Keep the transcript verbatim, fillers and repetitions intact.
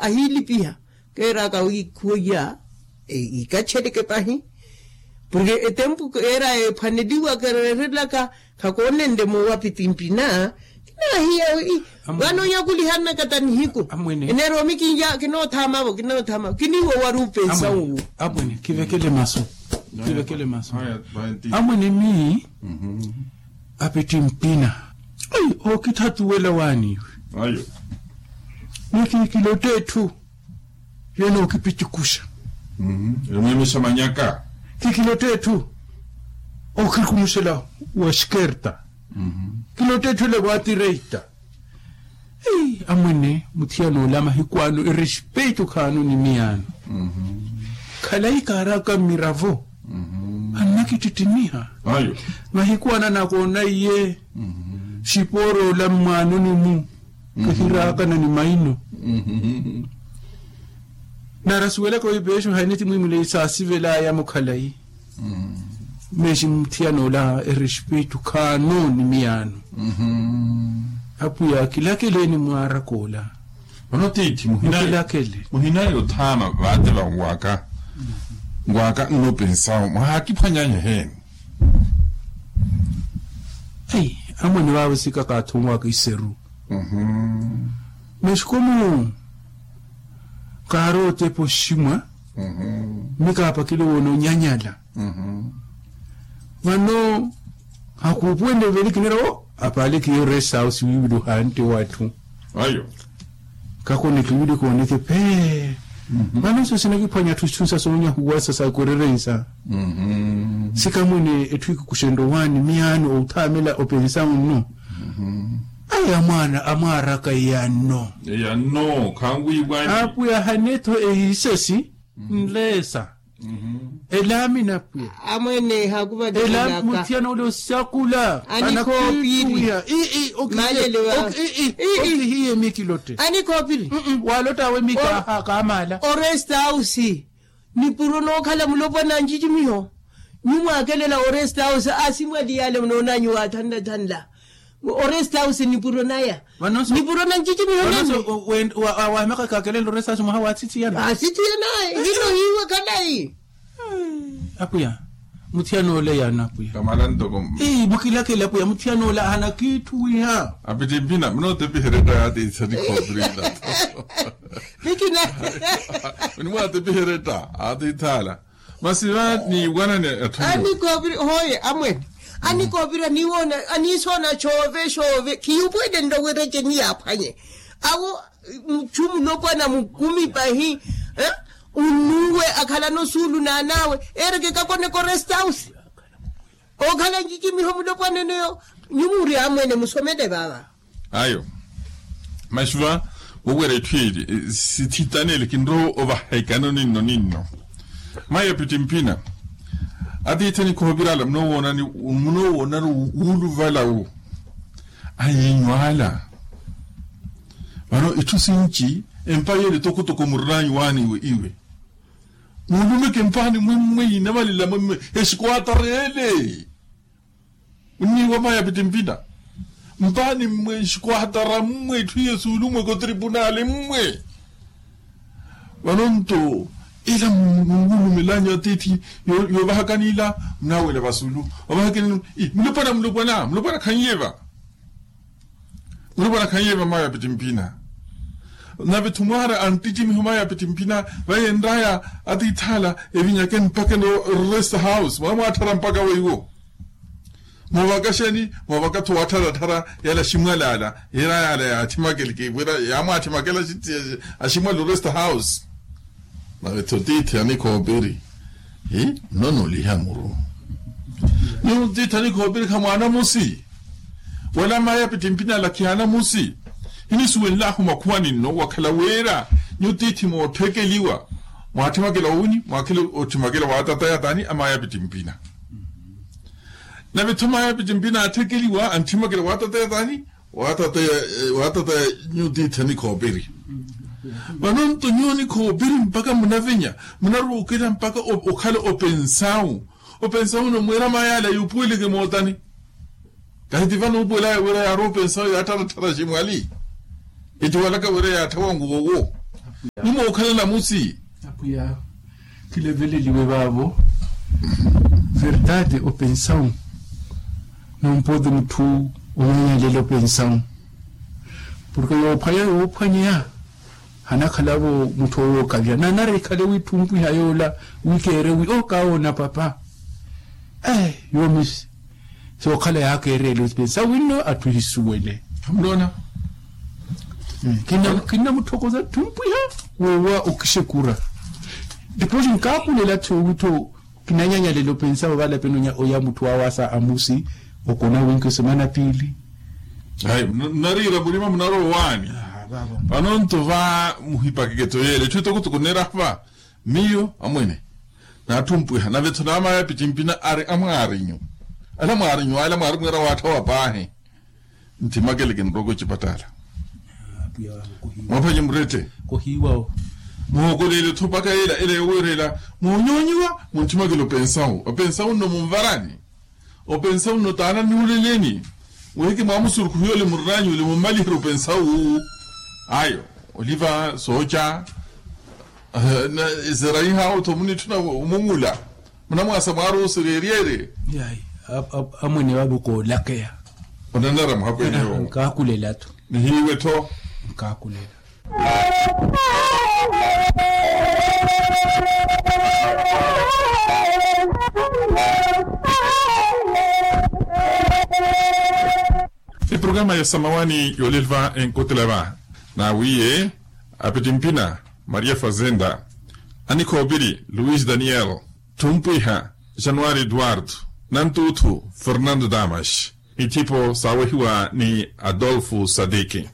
ahiilipiha. Keeraka wi khuya ikatxereke pahi. Porke etempu keera ephwaneliwa kereerelaka khakoonenle moowa pitimpina. Kinaahiya wi vano onyakulihanaka ta nihiku. Eneeroomi kinya kinoothaamavo kinoothaamavo kiniiwo wari upensa uwo. Amwene khivekele masu. Khivekele masu. Amwene mii apitimpina. Ai ookithathuwela waani iwe. Ayo. Ni kiikilotta etthu. Yeno okipicukuxa. Emwemixa manyaka. Kikilotta etthu. Okirikumuxela wa xikerta. Kilotta etthu ela wa tireita. Amwene muthiyana ola mahiku ano erespeito khaano ni miyaano. Khalayi kaaraka mmiravo. Annakittittimiha. Mahiku ano anakoona iye. Xipooroola mmwaanoni-mu. Kihiraakana ni maino. Nari asuwelaka wi peexo haineti mwiimulei saasivelaya-mo khalayi. Meexi muthiyana ola erespeito khaano ni miyaano. Apwiya kilakeleeni mwaaraka ola. Vano tiithi muhinayi othaama vaate vanwaka. Nwaka nnopensawo mwahaakiphwanyanya eheeni. Ai amwene vaavo sikaka athunwaka iseru. Mexikomu kaari otepa oximwa. Mikaapakile woona onyanyala. Vano hakuupuwele veli kinira wo apaale kiyo rest house wiivili ohantte w'atthu. Ayo. Kakoneke wili kooneke phee. Vano iso sinakiphwanya atthu itthu nsa soonyahuwasa sakurerensa. Sikamwene etthu ikukuxenrye owaani miyaano outhaamela opensa unno. Ayi amwaana amwaaraka eyanno. Eyanno khanwiiwani. Apwiya hanetho ehisesi nleesa. Elaamina pwiya. Amwene hakuvattulaka. Elaamina muthiyana ole osakula. Anikhoopiri. Ii ii. Okihiye mikilotte. Anikhoopiri. Walottawe mikaha kaamaala. Oresta ausi nipuro nookhala mulopwana ncicimiho. Nyumwaakelela oresta ausi asimwali yale munoonanyu waathanlathanla. Oresta ausi nipuro naya. Nipuro na ncicimiho nene. Wahimaka kakelela oresta ausi mwaha waathithiyana. Aathithiyana. Hino hiiwe khalayi. Apwiya. Muthiyana ole yaana apwiya. Kamala ntoko. Mukilakele apwiya muthiyana ole ahana kitthu wiiha. Apitimpina munootepiheretta yaatiitha nikhoopirila. Nikina. Munimwaatepiheretta aatiithala. Masi va niiwanani atthu anikhoopiri hooye amwene. Anikhoopiri aniisoona xoove xoove khiyuupuwele nrowerece niyaaphwanye. Awo muchu mulopwana mukumi pahi. Unnuwe akhalana osuulu n'an'awe eereke kakoneka oresta ausi. Ookhala ncicimiho mulopwana eneyo. Nyuwo muri amwene musomele vaava. Ayo. Masi va wowera etthu eli sithitanele kinrowa ovahekano ninno ninno. Mayi apitimpina. Atiithi anikhoopirala munoowoonani wuuluvalawu. Ayiinyu ala. Vano itthu sinci empa yeele tokotoko murinaanyu waani iwe iwe. Muulumeke mpaani mwimmwe yinavalela mwimmwe. Exikuwatareele. Munniiwa mayi apitimpina. Mpaani mmwe exikuwatara mmwe itthu yesuulu mmwe kotripunali mmwe. Vano nto ila munwulumelanyu atiithi yoovahakani ila munaawela vasuulu ovahakani. Mulopwana mulopwana mulopwana khanyiye va. Mulopwana khanyiye va mayi apitimpina. Nave-tho mwaara antittimiho mayi apitimpina. Vayenraya atiithi ala evinyake mpakha no rest house mwaamwaatthara mpakha weiwo. Moovaka xeeni moovaka-tho waattharattharya yala aximwali ala. Yiraya ala yaathimakele kiivwira yaamwaathimakela aximwali oresta house. Nave-tho tiithi anikhoopiri. Nnonooliha muru. Nyuwo tiithi anikhoopiri khamwaana musi. Wala mayi apitimpina ala khiyaana musi. Hinisuwenlahu makhuwa ninno wakhala wira nyuwo tiithi mootthekeliwa. Mwaathimakela owini mwaakhela otthimakela waatataya taani amayi apitimpina. Nave-tho mayi apitimpina aatthekeliwa antthimakela waatataya taani. Waatataya nyuwo tiithi anikhoopiri. Vano nto nyuwo nikhoopiri mpakha munavenya munaruukela mpakha okhala opensawu. Opensawu no mwiira mayi ala yuupuweleke mootani. Kahi ti vano uupuwelaya wira yaari opensawu yaattharattharya aximwali. Etiwalaka wira yaatthawa nguwowo. Mumookhala namusi. Apwiya, kileveleliwe vaavo. Verdade opensawu, nompoti mutthu onyanyalela opensawu. Porke yoophwanya yoophwanyeya, hanakhalavo mutthu owookavya nanari ekhale witthumpiha yoola, wikeere wi okaawona papa. Yoomi sookhala yaakeerele opensawu winno atthu ehisuwele. Khamuloona. Kinnamutthokoza tthumpwiha woowa okixekura. Dipoosi nkaakulela tthi owittho kinanyanyalela opensawu valapeni oya mutthu awaasa amusi, okona winki osemana piili. Ayi, munariira murima munaroowaani. Vano nto va muhipakeke tto yeela etthu etokotoko neerahva. Miyo amwene, naatthumpwiha nave-tho naamaya pitimpina ari amwaarinyu. Ala mwaarinyu ala mwaarimweera waatthawa paahi. Ntthimakele kinroka ocipatala. Mwaphanye murette. Muhookoleele-tho mpakha ela ela yoweerela. Muhonyoonyiwa munttimakele opensawu opensawu nno munvarani. Opensawu nno taana nnuuleleni. Weheke mwaamusurukhuhi ole murinaanyu ole mummaliherye opensawu. Ayo oliva sooca. Eseraiha otho munitthuna omungula. Munamwaasa mwaari osereeryeerye. Amwene vaavo koolakeya. Onanara muhapweneyo. Nkaakulela-tho. Nihiiwe-tho. Nkaakulela. Eprograma ya samawani yoolelva enkotela va naawiiye apitimpina maria fazenda, anikhoopiri luis daniel, thumpwiha januari eduardo, nantuuthu fernando damas, ithipo saawehiwa ni adolfo sadiki.